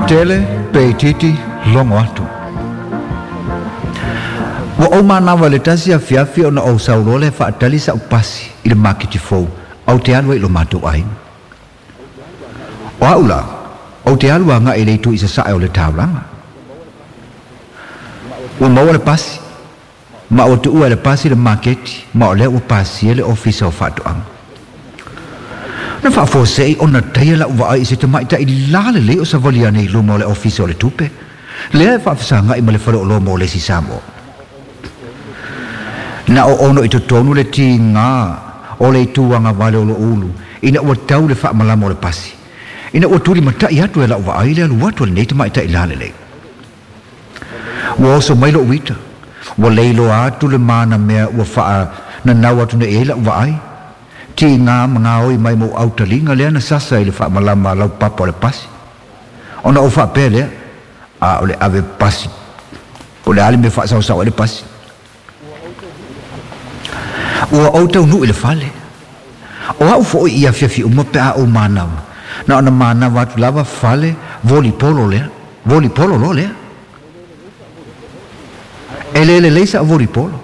Tele pe itiiti logo atu. Ua ou manava i le tasi afiafi ona ou sau loa lea e faatali sa'u pasi i le maketi fou ae ou te alu ai i lo matou aiga. O a'u la, ou te alu aga'i i le itu i sasae o le taulaga. Ua maua le pasi, ma ua tuua e le pasi le maketi ma o lea ua pasia le Ofisa o Faatoaga. Na faafuasei ona taia la'u vaai i se tamaitai lalelei o savali ane i luma o le Ofisa o le Tupe, lea e faafesagai ma le faleoloa mo le isi Samoa. Na oono i totonu le tiga o le itu agavale o lo'u ulu ina ua tau le faamalama o le pasi, ina ua tulimata'i atu e la'u vaai le alu atu a lenei tamaitai lalelei. Ua oso mai lo'u ita, ua leiloa atu le manamea ua faananau atu nei i ai la'u vaai, tiga ma gaoi mai ma ou autaliga lea na sasa i le faamalama laupapa o le pasi. Ona ou faapea lea, A o le ave pasi, po o le a le mea e faasaosao ai le pasi. Ua ou taunuu i le fale. O au foi i afiafi uma pe a ou manava, na ona manava atu lava fale volipolo lea, volipolo loa lea. E le lelei sa'u volipolo,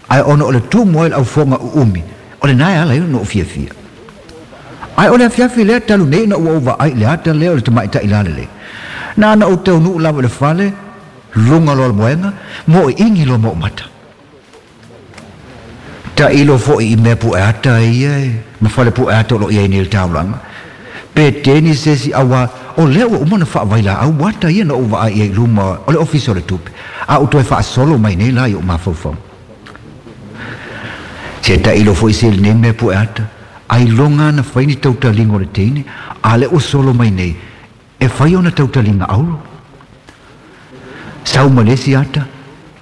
ae ona o le tumu ai o le aufoga uumi, o lena e ala ai ona ou fiafia. Ae o le afiafi lea talu nei ina ua ou vaai i le ata lea o le tamaitai lalelei. Na ona ou taunuu lava i le fale, luga loa o le moega, moiigi loa ma ou mata. Tailo foi i mea pueata ia e, ma fale pueata o lo o i ai nei i le taulaga. Pe teni se isi auā, o lea ua uma ona faavailaau ata ia na ou vaai i ai i luma o le Ofisa o le Tupe, a ua toe faasolo mai nei la i ou mafaufauga. Se tailo foi se i lenei mea pueata, ailoga na fai ni tautaliga o le teine, a lea ua solo mai nei e fai ona tautaliga auro. Sau ma le isi ata,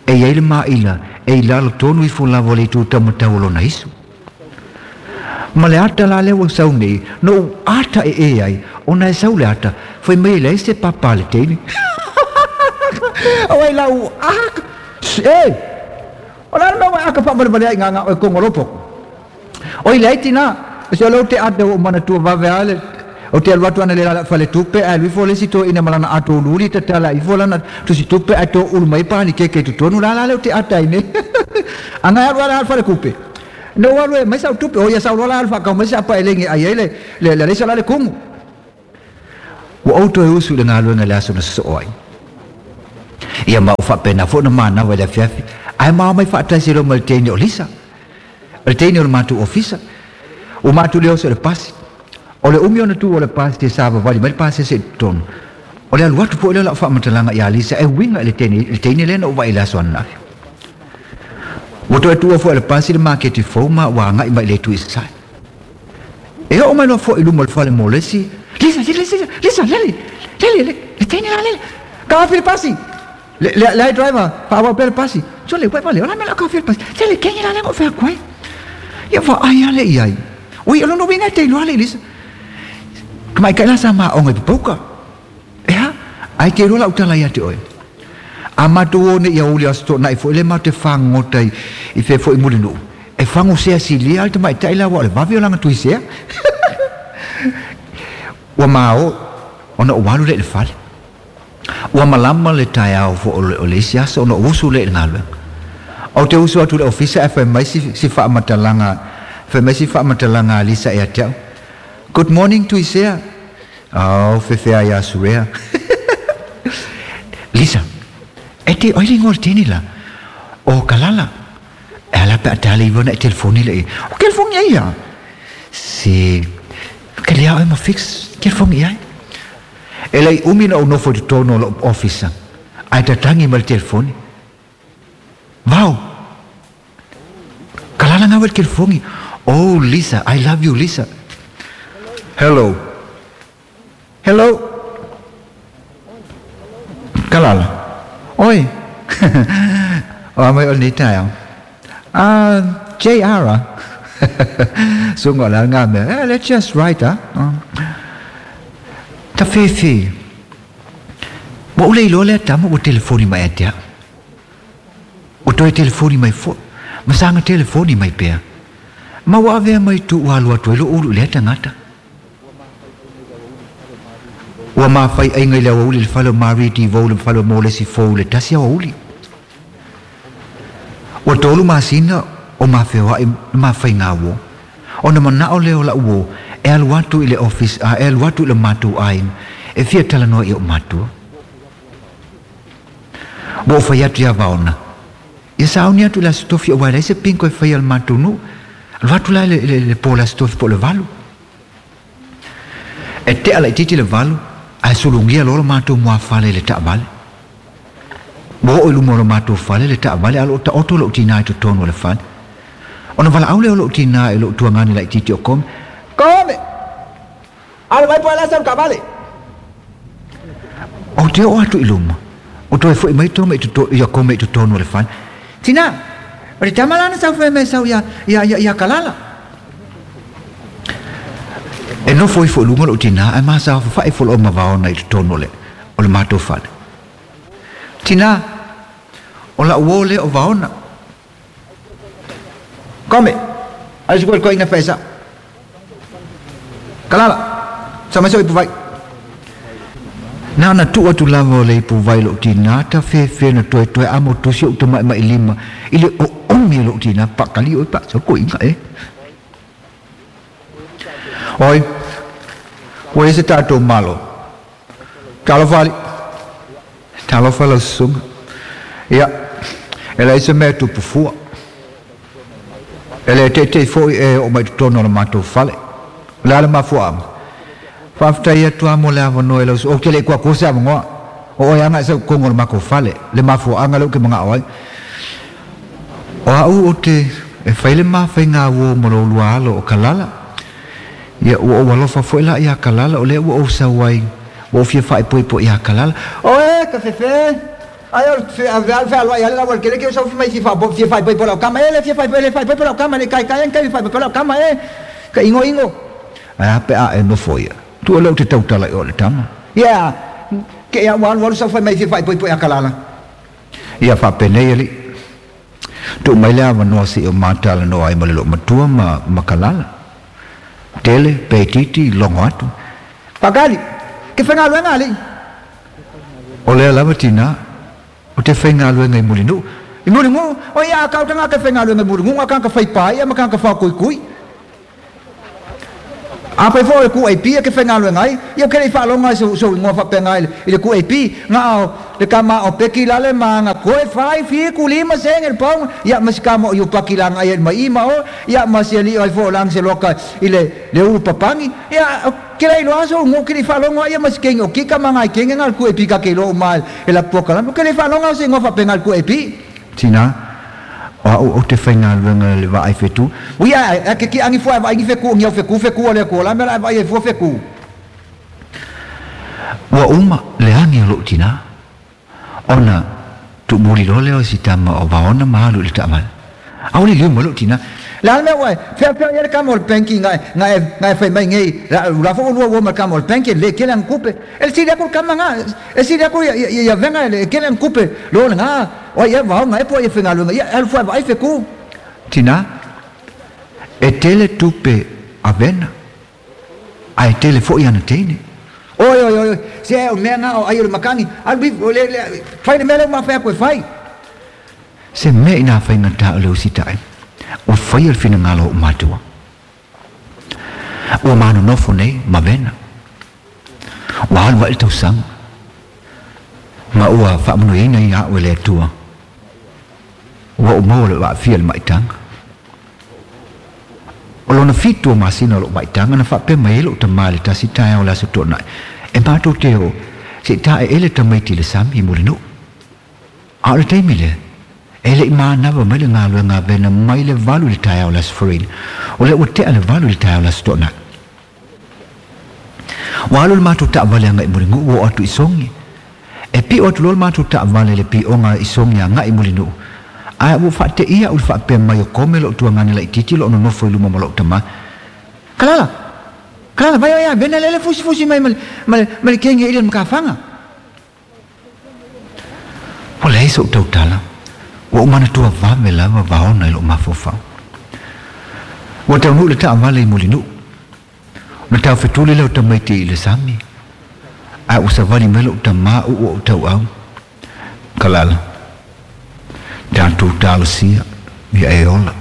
e i ai le maila e i lalo tonu ifo lava o le itu taumatau o lona isu. Ma le ata la lea ua sau nei, na ou ata ee ai, ona e sau le ata, fai mai e leai se papa a le teine. Auai la u aka, e! O le a le mea ua e aka faavalevale ai i gaga oe kongo lopoko? Oi leai tina, se o lea ou te ata ua ou manatua vave a le Ou te alu atu ana le lala faletupe ae alu ifo le isi toeaina ma lana ato uliuli tatala ifo lana tusi tupe ae toulu mai panikeke i totonu la la lea ou te ata ai nei. Aga e alu ala falekupe. Na ou alu e aumai sau tupe, oi ia sau loa la alu faakau mai se apa elegi e ai ai le le le alesa la le kumu. Ua ou toe usu i le galuega i le aso na sosoo ai. Ia ma ua faapena foi ona manava i le afiafi, ae mao mai faatasi loa ma le teine o Lisa. O le teine o le matou ofisa. Ua matou le oso i le pasi. O le umi ona tu o le pasi e savavali mai le pasese i totonu. O le alu atu foi lea o lau faamatalaga ia Lisa e uiga i le teine, le teine lea na ou vaai i le aso ananafi. Ua toe tuua foi e le pasi le maketi fou ma ua agai mai i le itu i sasae. E oo mai loa foi i luma o le fale mo le isi, Lisa, Lisa, Lisa, Lisa, Lele, Lele, le, le teine la Lele, ka afi le pasi! Le, le, le ai driver, faaauau pea le pasi. Sole, uai vale, o la mea la ka afi le pasi. Lele, kenge la lea o fea atu ai. Ia vaai ale i ai. Ui, o lona uiga e te iloa le Lisa. Tamaitai la sa maaoga i Papauka. Ea, ae te iloa lau tala ia te oe. A matou o nei i aoauli Aso Toonai foi lea matou te fagogota i, i fea foi i Mulinuu, e fago sea silia le tamaitai la aua o le vave o lana tuisea. Ua mao ona ou alu lea i le fale. Ua malama le taeao foi o le isi aso ona ou usu lea i le galuega. Ou te usu atu i le ofisa ae fai mai si, si faamatalaga, fai mai si faamatalaga a Lisa ia te au, Good morning Tuisea. Oh, fefea ia Surea. Lisa, e te oi le ingoa o le teine la? O Kalala. E ala pe a tale iwa na e telefoni le i. O telefoni ai ia? Se, ke lea oe ma fix telefoni i ai. E lei umi na ou nofo i totonu o lou ofisa, ae tatagi mai le telefoni. Vao! Kalala ngau e le telefoni. Oh, Lisa, I love you, Lisa. Hello. Hello. Kalala. Oi. O a mai o lenei taeao. Ah, JR ah. Sunga o le a ngā mea. Eh, let's just write ah. Tafefe. Ua ou le iloa lea tama ua telefoni mai ia te au. Ua toe telefoni mai foi, ma saga telefoni mai pea. Ma ua avea mai tu ua alu atu ai lou ulu i lea tagata. Ua mafaiaiga i le aoauli i le fale o Marie Devoe le fale o Molesi Fou i le tasi aoauli. Ua 3 masina o ma feoa'i le mafaiga uo. Ona mana'o lea o la'u uō e alu atu i le office a e alu atu i le matou aiga e fia talanoa i o'u matua. Ua ou fai atu iā Vaona, ia sauni atu i le Aso Tofi aua e leai se bingo e faia a le matou nuu. Alu atu la i le po o le Aso Tofi po o le 8. E te'a laitiiti le 8 ae sulugia loa lo matou muafale i le taavale. Ua oo i luma o lo matou fale le taavale a o lo o taoto lo'u tinā i totonu o le fale. Ona valaau lea o lo'u tinā i lo'u tuagani laitiiti o Kome. Kome! Alo mai po e le asa o le taavale! Ou te oo atu i luma, o toe fo'i mai Tome i toto, ia Kome i totonu o le fale. Tinā, o le tama la na sau fai mai sau ia, ia, ia, ia Kalala. E nofo ifo i luga lo'u tinā ae masafafa'i ifo lo'u ma Vaona i totonu o le, o le matou fale. Tinā, o la'u uō lea o Vaona. Kome, ai se koe koe ina fai sa'o. Kalala, sa mai so'u ipuvai. Na ona tuu atu lava o le ipuvai i lo'u tinā tafefe na toetoe amotusi o'u tama'ima'i lima i le oomi o lo'u tinā paakali oe paasolo koiga e. Oi, ua i ai se tatou Malo. Talofa alii. Talofa lau susuga. Ia, e leai se mea e tupu fua. E le teitei fo'i e oo mai totonu o le matou fale. O le a le mafuaaga? Faafetai atu lava mo le avanoa i lau Ou te le i kuakua se avanoa. O oe lava na e sau i totonu o le matou fale. Le mafuaaga lea ou te mana'o ai. O a'u ou te e fai le mafaiga uō ma lo ulua alo o Kalala. Ia, ua ou alofa foi la iā Kalala, o lea ua ou sau ai, ua ou fia faaipoipo iā Kalala. Oe, ka fefe! Ai o le fealuai ale lau kele ke sau mai fia fia faaipoipo lau kama e le fia faaipoipo le faaipoipo lau kama le kai kai kai faaipoipo lau kama e ka ingo ingo. Ai a pe a e nofo ia. Tu o leu te tautala i o le tama. Ia, ke ia ua alu alu sau fai mai fia faaipoipo iā Kalala. Ia faapenei alii. Tuu mai le avanoa seia o ma talanoa ai ma le loomatua ma ma Kalala. Tele, pe itiiti, logo atu. Fagali, ke faigaluega alii. O lea lava tinā, o te faigaluega i Mulinuu. I Mulinuu? O ia a kau tagata e faigaluega i Mulinuu, na tagata fai paia ma tagata faokuikui. Afai foi o le QAP e te faigaluega ai, ia ou te le i faalogo i sou igoa faapena i le QAP, na o le tama o Peki lale ma ana koe fai 7 5 sene le paoga, ia ma si tama o Iupaki la agai ai ma i ma o, ia ma si alii ai foi o Langeseloka i le le ulu papagi, ia ou te le iloa sou igoa ou te le i faalogo ai ia ma si kegi o Kika ma nai kege na o le QAP ka te iloa uma e la polokalame, ou te le i faalogo i se igoa faapena i le QAP. Tina, O a'u ou te faigaluega i le vaai fetu. Ui ae ae ke kiʻagi fua e vaai ni feku o ni au feku feku o le Atua la mea la e vaai ai fua feku. Ua uma le agi o lo'u tinā, ona tuumuli loa lea o si tama o Vaona ma alu i le taavale. Aole liu mai lo'u tinā. Le a le mea ua e feafea i ai le kama o le benki na e, na e, na e fai mai nei, la, la foi ua lua ua ma le kama o le benki e le kele ana tupe. E sili atu le kama na, e sili atu ia, ia, ia vega e kele ana tupe lo lena. O ai ea vaoga ea po o ai e faigaluega ia, e alu fua e vaai feku. Tinā, e tele tupe a Vena, ae e tele fo'i ana teine. Oi, oi, oi, oi, se o mea na o ai o le makani, alu ifo, le, le, fai le mea lea ua mafai atu e fai. Se mea inā faigata o le usitaʻi, ua faia le finagalo o o'u matua. Ua manonofo nei ma Vena. Ua alu aʻe le tausaga, ma ua faamanuiaina ia a'u e le Atua. Ua ou maua lo'u aafia i le maʻitaga. O lona 7 o masina o lo'u maʻitaga na faapea mai ai lo'u tamā i le tasi taeao o le Aso Toonai, e matou te o se i taeele tamaiti i le sami i Mulinuu. A o le taimi lea, e le i manava mai le galuega a Vena mai le 8 i le taeao o le Aso Faraile. O lea ua tea le 8 i le taeao o le Aso Toonai. Ua alu le matou taavale agai i Mulinuu ua oo atu i Sogi. E piʻo atu loa le matou taavale i le piʻoga i Sogi agai i Mulinuu. Ae ua faateia a'u i le faapea mai o Kome lo'u tuagane laitiiti o lo'o nonofo i luma ma lo'u tamā. Kalala! Kalala, vai oe ia Vena lele fusifusi mai ma le, ma le, ma le kegi e ili o le matafaga. Ua leai so'u tautala, ua ou manatua vave lava Vaona i lo'u mafaufau. Ua taunuu le taavale i Mulinuu. Ona taufetuli lea o tamaiti i le sami. Ae ua savali mai lo'u tamā u'u o'u tau'au. Kalala, tatou talosia ia e ola.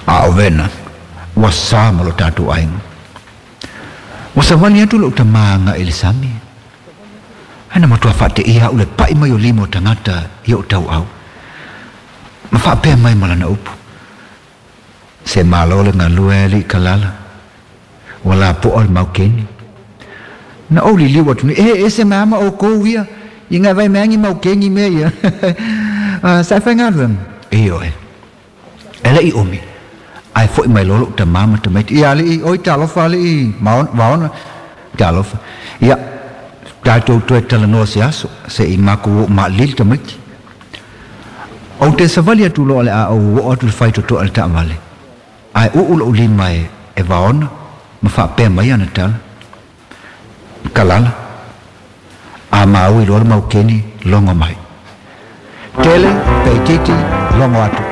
A o vena, ua sa ma lo tatou aiga. Ua savali atu lo'u tamā aga'i i le sami. Ae na matuā fa'ate'ia a'u le pa'i mai o lima o tagata i o'u tau'au. Ma fa'apea mai ma lana upu. Se malo le galue alii Kalala. Ua lapo'a le maukeni. Na ou liliu atu nei, e ese mai ama oukou ia, i ngai vai meangi maukeni mea ia. Sa e faigaluega? Ioe. E le'i umi, ae fo'i mai loa lo'u tamā ma tamaiti, Ia alii, oi talofa alii Vaona, talofa. Ia, tatou toe talanoa se aso, se'i makou o'o ma'alili tamaiti. Ou te savali atu loa o le a ou o'o atu i le faitotoa i le taavale, ae u'u lo'u lima e Vaona ma fa'apea mai ana tala. Kalala, a maui loa le maukeni, logo mai. Tele, pe itiiti, logo atu.